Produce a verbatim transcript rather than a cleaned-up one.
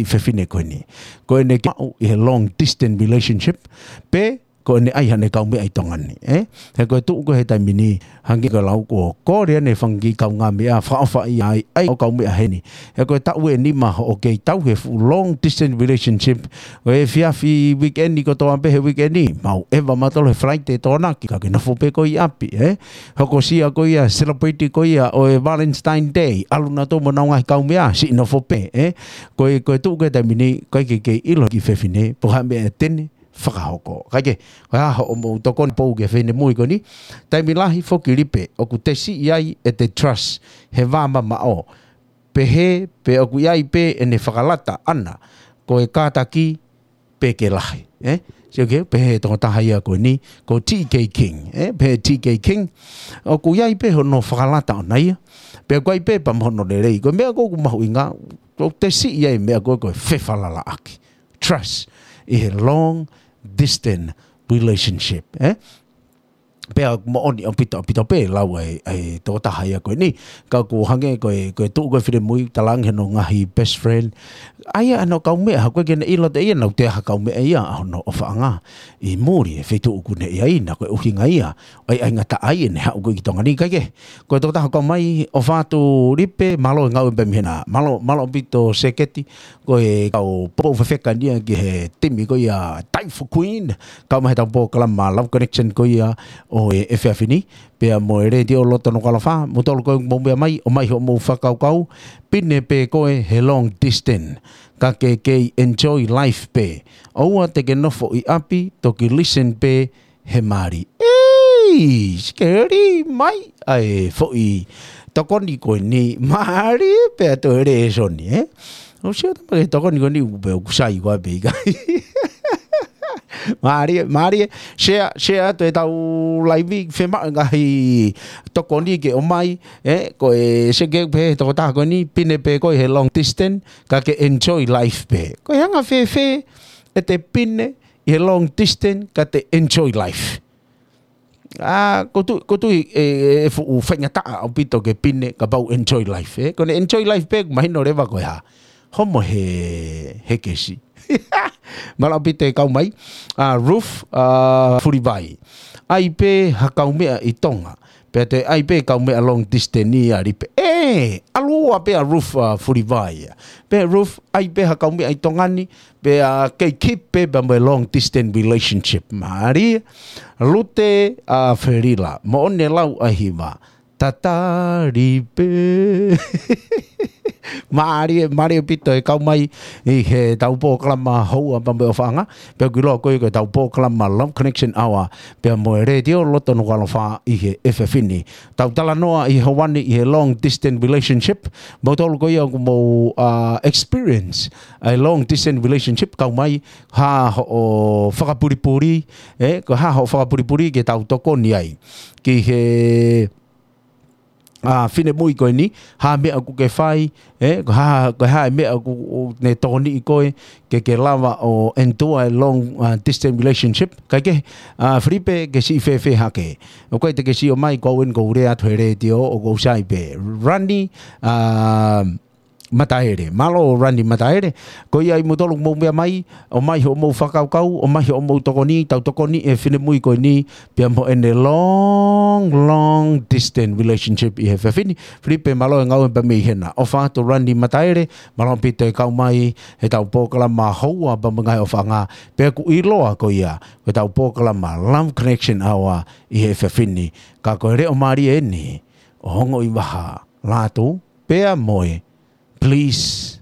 fefine ko eni. Ko ʻene kiʻi maʻu ʻi he long distance relationship, pe ko ʻene ʻai haʻane kaumeʻa ʻi Tonga ni, ē? He ko e tuʻu ko ē he taimi ni, hangē ko e lau ko ē, kole ʻene fanga kiʻi kaungāmeʻa, fakaʻofaʻia ai, ʻai hoʻo kaumeʻa heni. He ko e taʻu ʻe nima hoʻo kei tauhi e fuʻu long distance relationship, ko e efiafi weekend kotoa pē he weekend, mau ʻeva mautolu he Friday Tokonaki, ka ke nofo pē koe ʻi ʻapi, ē? Hokosia ko ia, celebrate ko ia ʻo e Valentine Day, ʻalu nautolu mo honau ngaahi kaumeʻa, siʻi nofo pē, ē? Ko e, ko e tuʻu ko ē he taimi ni, ʻikai ke kei ʻilo ʻe he kiʻi fefine pe ko e hā e meʻa te ne fakahoko. Kae kehe, ko e hā hoʻomou tokoni pou ki he finemui ko eni? Taimi lahi foki Lipe, ʻoku te siʻi ai ʻete trust he vā mamaʻo. Pehē, pe ʻoku ʻi ai pē ʻene fakalata ʻana, ko e kātaki pē ke lahi, ē? Sio ki he, pehē ʻe he tokotaha ia ko eni, ko T K King, ē? Pehē T K King, ʻoku ʻi ai pē hono fakalata ʻona ia, pe ʻoku ʻi ai pē pea mo hono lelei. Ko e meʻa ko ē ʻoku mahuʻinga, ʻoku te siʻi ai e meʻa ko ē ko e fefalalaʻaki. Trust ʻi he long distance relationship, ē? Pea moʻoni ʻaupito, ʻaupito pē lau ʻa e, ʻa e tokotaha ia ko eni. Ka ʻoku hangē ko e, ko e tuʻu ko ē he finemui, talaange hono ngaahi best friend. ʻAi ia hono kaumeʻa, ha ʻoku ʻikai ke ne ʻilo ʻe ia naʻa nau toe ʻi ai ha kaumeʻa ia ʻa hono ʻofaʻanga ʻi muli he feituʻu ʻoku ne ʻi ai na, ko e ʻuhinga ia ʻo e ʻaingataʻa ia ʻene haʻu ko ē ki Tonga ni. Kae kehe, ko e tokotaha ʻoku kau mai, ʻofa atu Lipe, mālō e ngāue pē mei hena. Mālō, mālō ʻaupito Seketi, ko e kau poupou fefeka eni ia ki he timi ko ia Typhoon Queen, kau mai he ʻetau polokalama Love Connection ko ia ʻo e efiafi ni, pea mo e Letiō Loto Nukuʻalofa, moutolu ko ē ʻoku mou meʻa mai, ʻomai hoʻomou fakakaukau, pine pē koe he long distance, ka ke kei enjoy life pē. ʻOua te ke nofo ʻi ʻapi, toki listen pē he mali. Ei, sikeli mai ʻa e foʻi tokoni ko eni, mālie pē ʻa e lēsoni, ē? ʻOsi ʻo tama ke tokoni ko eni, ʻoku pē ʻoku sai koā pe ʻikai. Mālie, mālie, share, share atu ʻetau live, fiemaʻu e ngaahi tokoni ke ʻomai, ē, ko e seke pē he tokotaha ko eni, pine pē koe he long distance, ka ke enjoy life pē. Ko e anga fēfē ʻete pine ʻi he long distance, ka te enjoy life? ʻA, ʻoku ou tui, ʻoku ou tui ʻe, ʻe fuʻu faingataʻa ʻaupito ke pine kapau enjoy life, ē? Ko ʻene enjoy life pē, mahino leva ko e hā? Homo he, he kesi. Mālō ʻaupito e kau mai, ʻa, Ruth, ʻa, Fulivai. ʻAi pē ha kaumeʻa ʻi Tonga, pea te ʻai pē kaumeʻa long distance ia Lipe. Ē, ʻalu ua pē ʻa Ruth, ʻa, Fulivai. Pea Ruth, ʻai pē ha kaumeʻa ʻi Tonga ni, pea kei keep pē pea mo e long distance relationship. Mālie, Lute, ʻa, Felila, moʻoni e lau ʻa e hiva. Tatali pē. Mālie, mālie ʻaupito e kau mai ʻi heʻetau polokalama Houa pea mo e ʻOfaʻanga. Pea ʻoku ʻiloa ko ē ko ʻetau polokalama Love Connection Hour, pea mo e Letiō Loto Nukuʻalofa ʻi he efiafi ni. Tau talanoa ʻi he houa ni ʻi he long distance relationship. Moutolu ko ia ʻoku mou, ʻa, experience ʻa e long distance relationship, kau mai, hā hoʻo fakapulipuli, ē, ko e hā hoʻo fakapulipuli ke tau tokoni ai ki he, ʻa, finemui ko eni, hā e meʻa ʻoku ke fai, ē, ko e hā, ko e hā e meʻa ʻoku, ʻoku ne tokoniʻi koe ke ke lava ʻo endure e long, ʻa, distance relationship. Kae kehe, ʻa, Filipe, ke siʻi fēfē hake? ʻOku ʻikai te ke sio mai, ko au eni ʻoku ou lea atu he letiō, ʻoku ou sai pē. Rani, ʻa, Mataele. Mālō Rani Mataele. Ko ia ʻi moutolu ʻoku mou meʻa mai, ʻomai hoʻomou fakakaukau, ʻomai hoʻomou tokoni, tau tokoniʻi e finemui ko eni, pea mo ʻene long, long distance relationship ʻi he efiafi ni. Filipe, mālō e ngāue pea mei hena. ʻOfa atu Rani Mataele, mālō ʻaupito e kau mai heʻetau polokalama Houa pea mo e Ngaahi ʻOfaʻanga, pea ʻoku ʻiloa ko ia ko ʻetau polokalama Love Connection Hour ʻi he efiafi ni. Ka ko e leʻo mālie eni ʻo e ongo ʻi vaha, Lātū, pea mo e Please